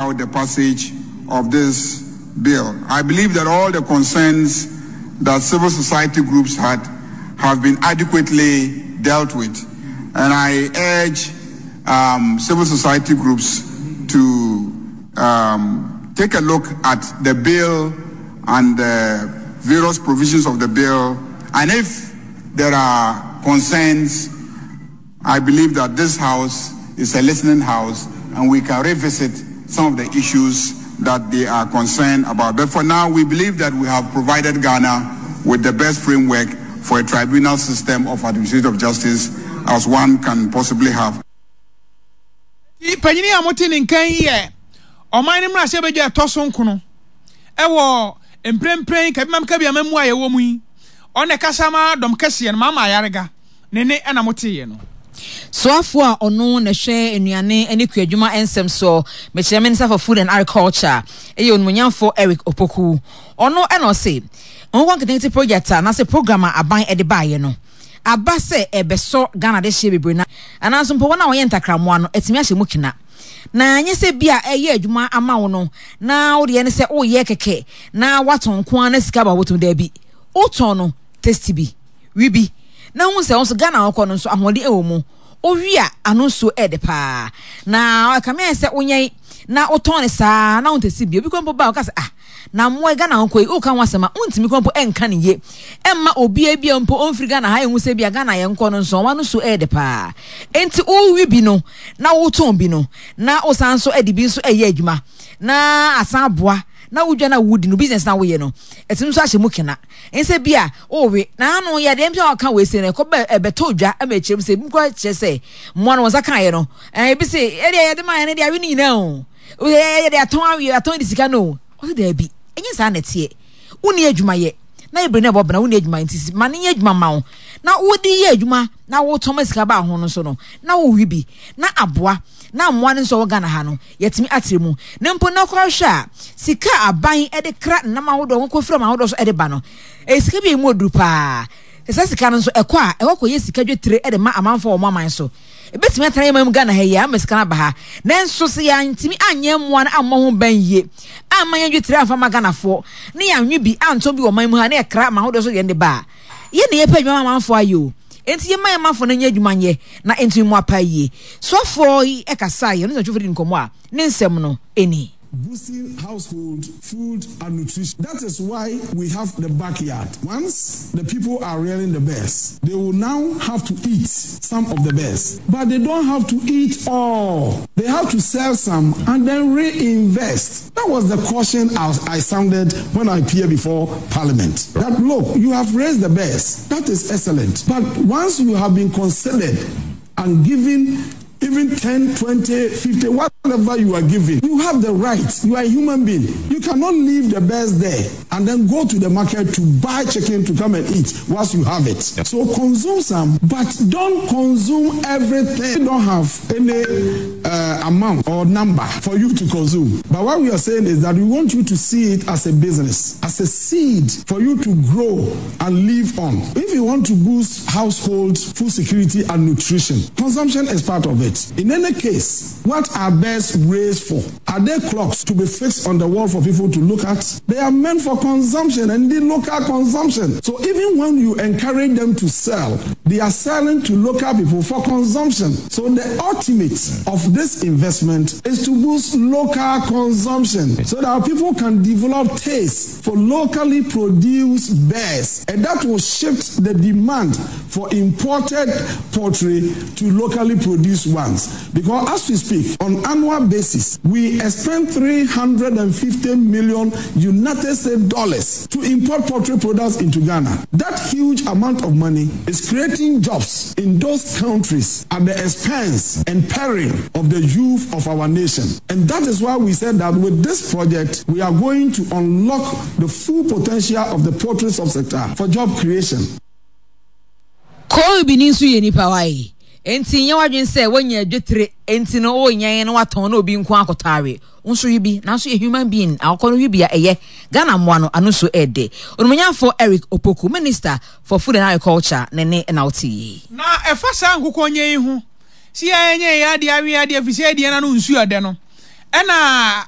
Out the passage of this bill. I believe that all the concerns that civil society groups had have been adequately dealt with. And I urge um, civil society groups to um, take a look at the bill and the various provisions of the bill. And if there are concerns, I believe that this house is a listening house and we can revisit some of the issues that they are concerned about. But for now, we believe that we have provided Ghana with the best framework for a tribunal system of administrative justice as one can possibly have. Panyin a mote ne nka yi yɛ ɔman no mmarahyɛbadwa a ɛtɔ so nkono wɔ mprempren Kabimam Kabiama mu a yɛwɔ mu yi. Ɔno na ɛkasa ma dɔm kɛseɛ no, Mama Ayariga. Ne nne na moteeɛ no. Soafoɔ a ɔno na ɛhwɛ nnuane ne kuadwuma nsɛm soɔ, mekyerɛ Minister for Food and Agriculture, yɛ Onimuonyamfoɔ Eric Opoku. Ɔno na ɔse nkokɔ nketenkete project a anaasɛ program a aban de baeɛ no aba sɛ ɛrebɛsɔ Ghana adehyeɛ bebree no anaa nso mpo wɔn a wɔyɛ ntakrammoa no atumi ahyɛ mu kena. Na ɛnyɛ sɛ bi a ɛyɛ adwuma ama wo no na wo deɛ ne sɛ woyɛ kɛkɛ na woatɔn nko ara na sika aba wo bɔtɔm, daabi, wotɔn no tasty bi. We bi na hu sɛ wo nso Ghana a wokɔ no nso ahoɔden wɔ mu. Wowe a ano nsuo yɛ dɛ paa. Na ɛkame ayɛ sɛ wonyɛn na wotɔn no saa na wontɛsi bi. Obi kora mpo ba a ɔka sɛ ah na mmoa yi Ghana wokɔ yi woka ho asɛm a wontumi kora mpo nka no yie. Ɛmma obiara bi a mpo ɔmfiri Ghana ha nhu sɛ bi a Ghana yɛnkɔ no nso wɔn ano nsuo yɛ dɛ paa. Enti wowe bi no na wotɔn bi no na wosan nso de bi nso yɛ adwuma na asan aboa na wo dwa no a wodi no business no a woyɛ no ɛtumi nso ahyɛ mu kena. Nsɛ bi a wowe na ano yɛ adeɛ nti a ɔka wei sei no ɛkɔ bɛ ɛbɛtɔ dwa ma ɛkyerɛ mu sɛ ebi koraa kyerɛ sɛ mmoa no wɔn nsa kaeɛ no ɛɛ ebi se ɛdeɛ yɛde maa yɛn no deɛ awe no nyinaa o yɛde atɔn awe atɔn de sika no o ɔse daabi ɛnyɛ saa na ɛteɛ wonni adwuma yɛ na ebire na ɛbɔ bena wonni adwuma nti ma no nyɛ adwuma ma wo na wode yɛ adwuma na wotɔn ma sika ba ho no nso no na wowe bi na aboa na mmoa no nso a wɔ Ghana ha no yɛatumi atre mu. Na mpo na kɔhwɛ a, sika a aban de kra nnam ahodoɔ, nkokɔ firi aman ahodoɔ so de ba no, ɛyɛ sika bi a ɛmu ɔduru paa. Sɛ saa sika no nso ɛkɔ a, ɛkɔ kɔyɛ sika dwetire de ma amanfoɔ wɔ wɔn aman so. Ɛbɛtumi atena yɛn man mu Ghana ha yi ara ama sika no aba ha. Nanso sɛ yɛantumi anyɛ mmoa no ammɔ ho ban yie, amma yɛn dwetire amfa amma Ghanafoɔ, na yɛanwe bi antɔn bi wɔ ɔman mu ha na yɛkra aman ahodoɔ so de yɛn de ba a, Yɛn na yɛpɛ adwuma ma amanfoɔ ayɛ o, enti yɛmma yɛn manfoɔ no nyɛ adwuma nyɛ na ɛntumi mmoa paa yie. Soafoɔ yi kasaeɛ, ɔne nsɛntwerɛfoɔ dii nkɔmmɔ a ne nsɛm no ni. Boosting household food and nutrition. That is why we have the backyard. Once the people are rearing the birds, they will now have to eat some of the birds, but they don't have to eat all. They have to sell some and then reinvest. That was the caution I, I sounded when I appeared before Parliament. That look, you have raised the birds. That is excellent. But once you have been considered and given even 10, 20, 50, whatever you are giving, you have the right. You are a human being. You cannot leave the birds there and then go to the market to buy chicken to come and eat whilst you have it. So consume some, but don't consume everything. You don't have any uh, amount or number for you to consume. But what we are saying is that we want you to see it as a business, as a seed for you to grow and live on. If you want to boost household food security and nutrition, consumption is part of it. In any case, what are birds raised for? Are they clocks to be fixed on the wall for people to look at? They are meant for consumption and the local consumption. So even when you encourage them to sell, they are selling to local people for consumption. So the ultimate of this investment is to boost local consumption so that people can develop taste for locally produced birds. And that will shift the demand for imported poultry to locally produced ones. Because as we speak, on annual basis, we expend 350 million United States dollars to import poultry products into Ghana. That huge amount of money is creating jobs in those countries at the expense and peril of the youth of our nation. And that is why we said that with this project, we are going to unlock the full potential of the poultry subsector for job creation. Kolbini nso yɛ nipa wae. Enti nyɛ w'adwene sɛ woanya dwetire enti no wonyɛn na watɔn na obi nko akɔtɔ awe. Wo nso we bi, nanso yɛ human being akɔkɔ no we bi a ɛyɛ. Ghana mmoa no ano nso ɛɛdɛ. Onimonyamfoɔ Eric Opoku, Minister for Food and Agriculture ne ne na wote yi. Na ɛfa saa nkokɔnyɛ yi ho, sɛ yɛnyɛ yɛn adeɛ awe adeɛ ɛfiri sɛ yɛdeɛ no ano nsuo ɛdɛ no, ɛna.